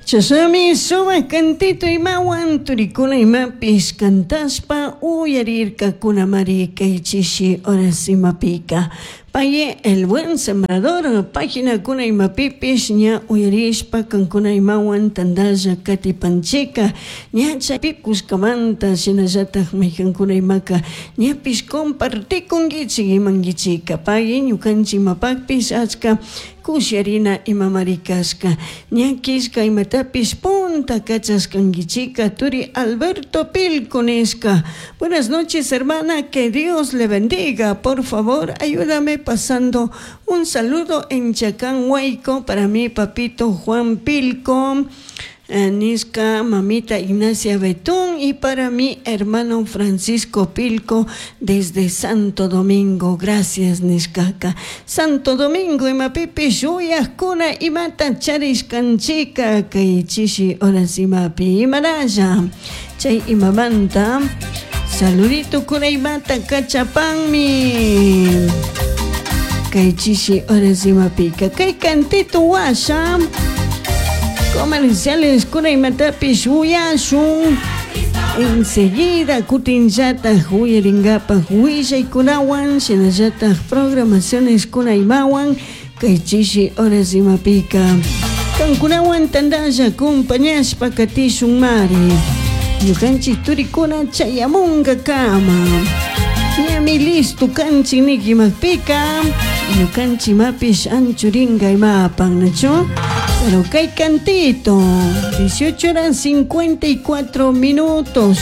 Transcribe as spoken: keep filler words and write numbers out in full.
Chashnami sumak cantito imawan turikuna imapish cantashpa uyarirkakunamari kay chishi horas imapika. Paye El Buen Sembrador paginakuna imapipish ña uyarishpa kankuna imawan tantalla katipanchika ña chaypi kushkamanta shinallatak maykankuna imaka ñapish compartikunkichik imankichika pagui ñukanchik imapakpish achka kusharina imamari kashka ña killka imatapish punta kachashkankichika turi Alberto Pilco nishka. Buenas noches, hermana, que Dios le bendiga. Por favor, ayúdame pasando un saludo en Chacán Huayco para mi papito Juan Pilco, eh, nishka mamita Ignacia Betún y para mi hermano Francisco Pilco desde Santo Domingo. Gracias, nishkaka. Santo Domingo imapipish shuyakuna imata charishkanchika kay chishi horas imapi imaralla chay imamanta saludito kuna imata kachapanmi kay chishi horas imapika kay cantito washa comerciales kuna imatapish uyashun enseguida kutinllatak uyarinkapak willaykunawan shinallatak programaciones kuna imawan kay chishi horas imapika kankunawan tantalla acompañashpa katishun mari ñukanchik turikuna chayamunka kama ñami listo kanchik nikimapika ñukanchik imapish anchurinka imapan, ¿nachu? Pero kay cantito, dieciocho horas cincuenta y cuatro minutos.